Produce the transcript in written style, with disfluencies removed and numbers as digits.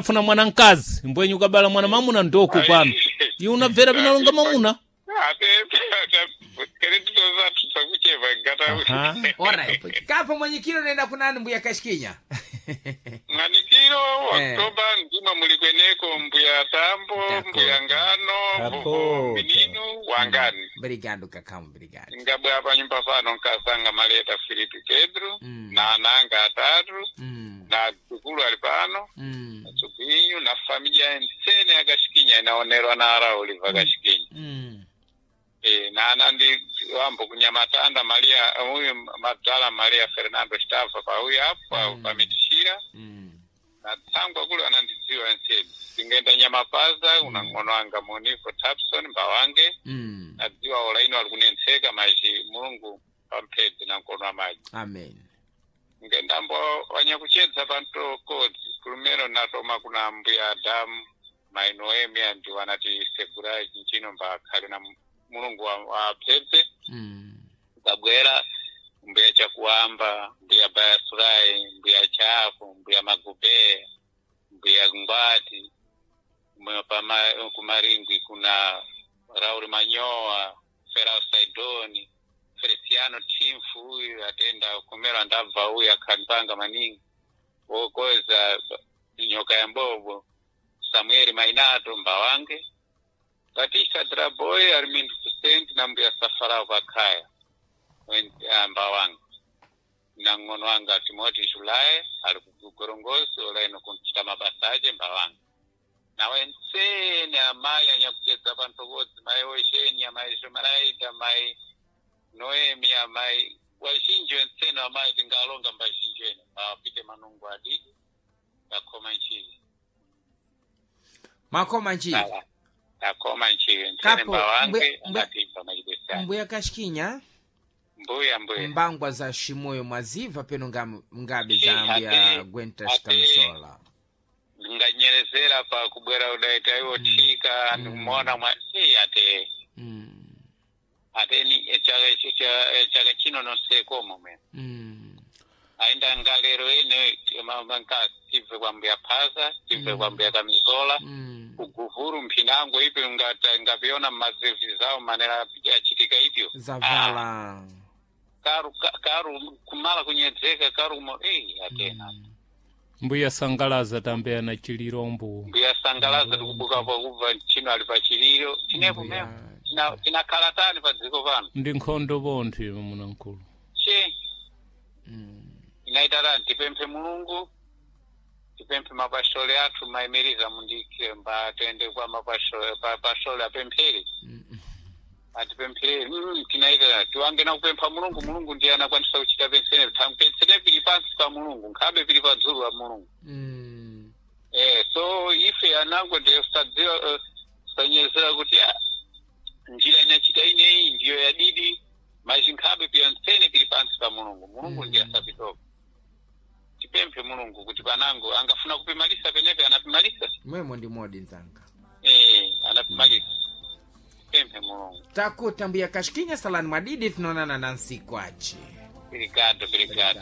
Unafuna mwana mkazi mbwenye ukabala mwana mamuna ndoko pano. Iwe unabvera pinalonga mamuna. Aha. Alright. Kapo mwenyikiro nenda kunani mbuya Kashikinya? Mwanikiro Oktoba nzima mulikweneko mbuya tambo Ndakota. mbuya ngano Ndakota. mininu wangani Obrigado kakamu, obrigado. ngabwa panyumba pano nkasanga maleta Filipe Pedro na ananga atatu na dzukulu ali pano tsupinyu na familia ensene yakashikinya inaonerwa na ara Oliver Kashikinya. E, na anandi wambo kunyamatanda Maria huyu Madala Maria Fernando Stava pa huyu apo pamitishira na tsangwa kule anandidziwa ensene tingaenda nyamapaza una ng'ono anga Monifo Tapson mbawange nadziwa olaino ali kunentseka maji Mulungu pamphedzi na mkono wa maji. Amen. Ngendambo wanyakuchedza pantokodzi kulumero natoma kuna mbuya Adamu mainoemi andi wanati segurai chinchino mbakhale na Mulungu wa phedze. Kabwera mbuya chakuamba mbuya bayasurai mbuya chafu mbuya magube mbuya ngwati mbuya kumaringwi kuna Raul Manyoa Ferao Saidoni Feliciano Timfu huyu atenda kumera ndabva huyu akhanipanga maningi wokoza nyoka ya mbobo Samueli Mainato mbawange Batista Draboy Armindo Kusenti na mbuya Safarao pakhaya mbawange na ng'ono wanga Timothy Julai ali kugorongosi olaino kunchita mabasa ache mbawange nawe ntsene amayi anyakuchedza panthokodzi mayi osheni amayi shomaraita mayi noemi amayi wazhinji wentsene amayi tingalonga mbazhinji ene awapite manungu adidi akhoma nchili. Makoma nchili. Akhoma nchili ntsene Kapo, mbawange mbuya- anatibva machibesani. Mbuya Kashikinya, Mbuya mbuya. mbangwa za shimoyo mwaziva peno ngabe za Ati- mbuya Gwenta Shikamisola. Nganyerezera pa kubwera udaita iwo thika ndikumuona mwa ate ate ni chaka chino nonsekomo mene ainda ngalero ene manka tibve kwa mbuya phaza tibve kwa mbuya kamizola kuguvuru mphinango ipyo ngapiona mmazevi zawo manera achitika ipyo. Zavala. Karu karu kumala kunyedzeka karu mo atena. Mbuya sangalaza tambeya na chilirombo. Mbuya sangalaza tikubuka pa kubva chino ali pa chiliro chinepo Mbuya- memo tinakhala tani pa dziko pano. Ndi nkhondo bonthu iwe munamkulu. Che inaitara tipemphe Mulungu tipemphe mapashole athu maimiriza mundike mba toende kwa mapashole pashole apemphere atipemphere tinaitara tiwange na kupempha Mulungu. Mulungu ndiye anakwanisa kuchita pensene pensene pili pansi pa Mulungu nkhabe pili pa dzulu la Mulungu. So ife anango ndiye sadziwa sanyezera kuti njira inachita ineyi ndiyo yadidi maji nkhabe pia ntsene pili pansi pa Mulungu. Mulungu ndiye asapitoka tipemphe Mulungu kuti panango angafuna kupimalisa penepe anapimalisa. Mwemo ndi modi nzanga. Anapimalisa tipemphe Mulungu. Takuta mbuya Kashikinya salani mwadidi tunaonana na nsiku achi. Obrigado, obrigado.